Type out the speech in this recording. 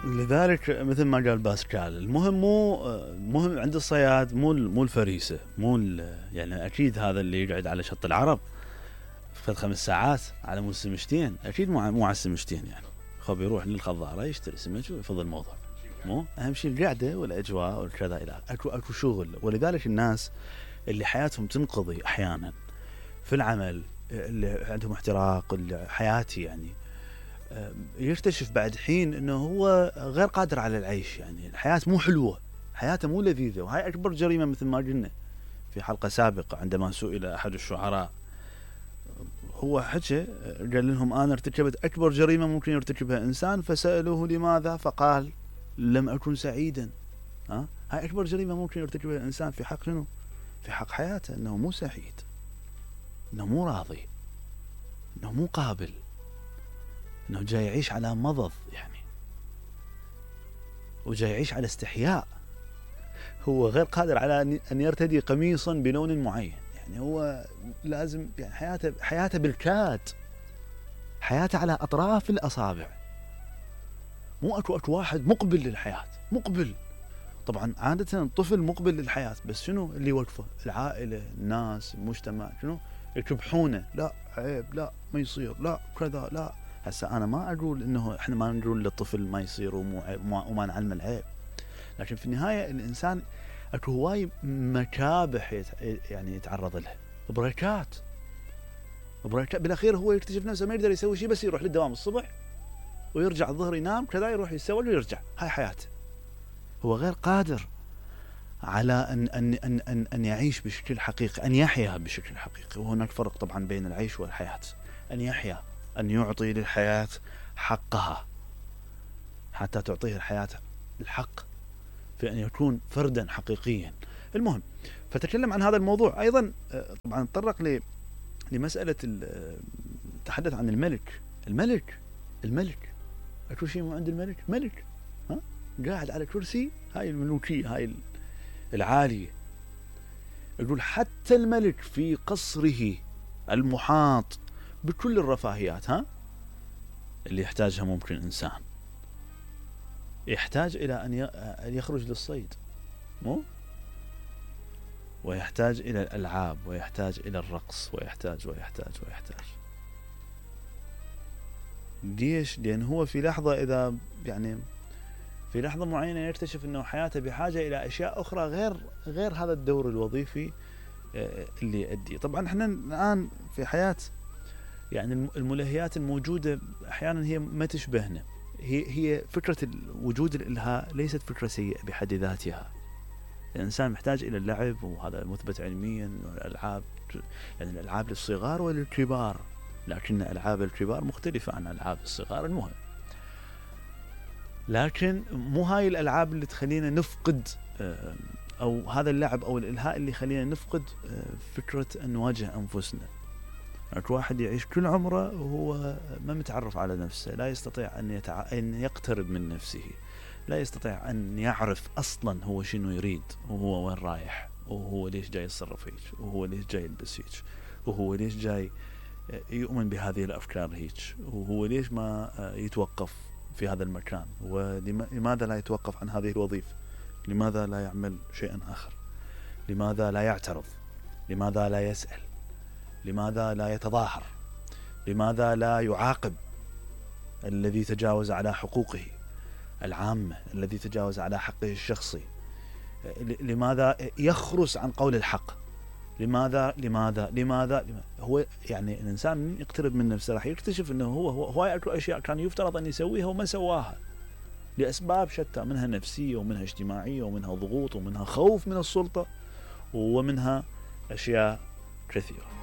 لذلك مثل ما قال باسكال، المهم مهم عند الصياد مو الفريسة، يعني أكيد هذا اللي يقعد على شط العرب فد 5 ساعات على مود سمشتين أكيد مو على السمشتين، يعني خب يروح للخضارة يشتري سمك ويفضل الموضوع. مو أهم شيء القعدة والأجواء والكذا إلى أكو شغل. ولذلك الناس اللي حياتهم تنقضي أحيانا في العمل، اللي عندهم احتراق حياتي، يعني يكتشف بعد حين انه هو غير قادر على العيش، يعني الحياة مو حلوة، حياته مو لذيذة. وهاي اكبر جريمة مثل ما قلنا في حلقة سابقة عندما سئل احد الشعراء، هو حكى قال لهم انا ارتكبت اكبر جريمة ممكن يرتكبها انسان، فسألوه لماذا فقال لم اكن سعيدا. هاي اكبر جريمة ممكن يرتكبها الانسان في حق شنو؟ في حق حياته، انه مو سعيد، انه مو راضي، انه مو قابل، انه جاي يعيش على مضض، يعني وجاي يعيش على استحياء. هو غير قادر على ان يرتدي قميصا بلون معين، يعني هو لازم، يعني حياته بالكاد، حياته على اطراف الاصابع. مو اكو واحد مقبل للحياة، مقبل. طبعا عادة الطفل مقبل للحياة، بس شنو اللي وقفه؟ العائلة، الناس، المجتمع، شنو يكبحونه؟ لا عيب، لا ما يصير، لا كذا، لا. هسه انا ما اقول انه احنا ما نقول للطفل ما يصير وما نعلم العيب، لكن في النهاية الانسان اكو هواي مكابح يعني يتعرض لها، بريكات بالاخير هو يكتشف نفسه ما يقدر يسوي شيء، بس يروح للدوام الصبح ويرجع الظهر ينام كذا، يروح يسوي ويرجع. هاي حياته. هو غير قادر على أن يعيش بشكل حقيقي، أن يحيا بشكل حقيقي. وهناك فرق طبعا بين العيش والحياة. أن يحيا، أن يعطي للحياة حقها، حتى تعطيه الحياة الحق في أن يكون فردا حقيقيا. المهم، فتكلم عن هذا الموضوع أيضا. طبعا تطرق لمسألة تحدث عن الملك. أكو شيء مو عند الملك، ملك قاعد على كرسي، هاي الملوكية، هاي العالية. يقول حتى الملك في قصره المحاط بكل الرفاهيات اللي يحتاجها ممكن إنسان، يحتاج إلى أن يخرج للصيد، مو؟ ويحتاج إلى الألعاب، ويحتاج إلى الرقص، ويحتاج. ليش؟ لأن هو في لحظة، إذا يعني في لحظة معينة يكتشف أنه حياته بحاجة إلى أشياء أخرى غير هذا الدور الوظيفي اللي يؤدي. طبعا احنا الآن في حياة، يعني الملهيات الموجودة أحيانا هي ما تشبهنا. هي فكرة وجود الإلهاء ليست فكرة سيئة بحد ذاتها. الإنسان محتاج إلى اللعب، وهذا مثبت علميا. الألعاب، يعني الألعاب للصغار وللكبار، لكن ألعاب الكبار مختلفة عن ألعاب الصغار. المهم، لكن مو هاي الألعاب اللي تخلينا نفقد، أو هذا اللعب أو الإلهاء اللي يخلينا نفقد فكرة أن نواجه أنفسنا. أكو واحد يعيش كل عمره وهو ما متعرف على نفسه، لا يستطيع أن يقترب من نفسه، لا يستطيع أن يعرف أصلا هو شنو يريد، وهو وين رايح، وهو ليش جاي يتصرف هيك، وهو ليش جاي يلبس هيك، وهو ليش جاي يؤمن بهذه الأفكار هيك، وهو ليش ما يتوقف في هذا المكان، ولماذا لا يتوقف عن هذه الوظيفة، لماذا لا يعمل شيئا آخر، لماذا لا يعترض، لماذا لا يسأل، لماذا لا يتظاهر، لماذا لا يعاقب الذي تجاوز على حقوقه العامة، الذي تجاوز على حقه الشخصي، لماذا يخرس عن قول الحق، لماذا. هو يعني الإنسان من يقترب من نفسه راح يكتشف أنه هو أكو أشياء كان يفترض أن يسويها وما سواها لأسباب شتى، منها نفسية، ومنها اجتماعية، ومنها ضغوط، ومنها خوف من السلطة، ومنها أشياء كثيرة.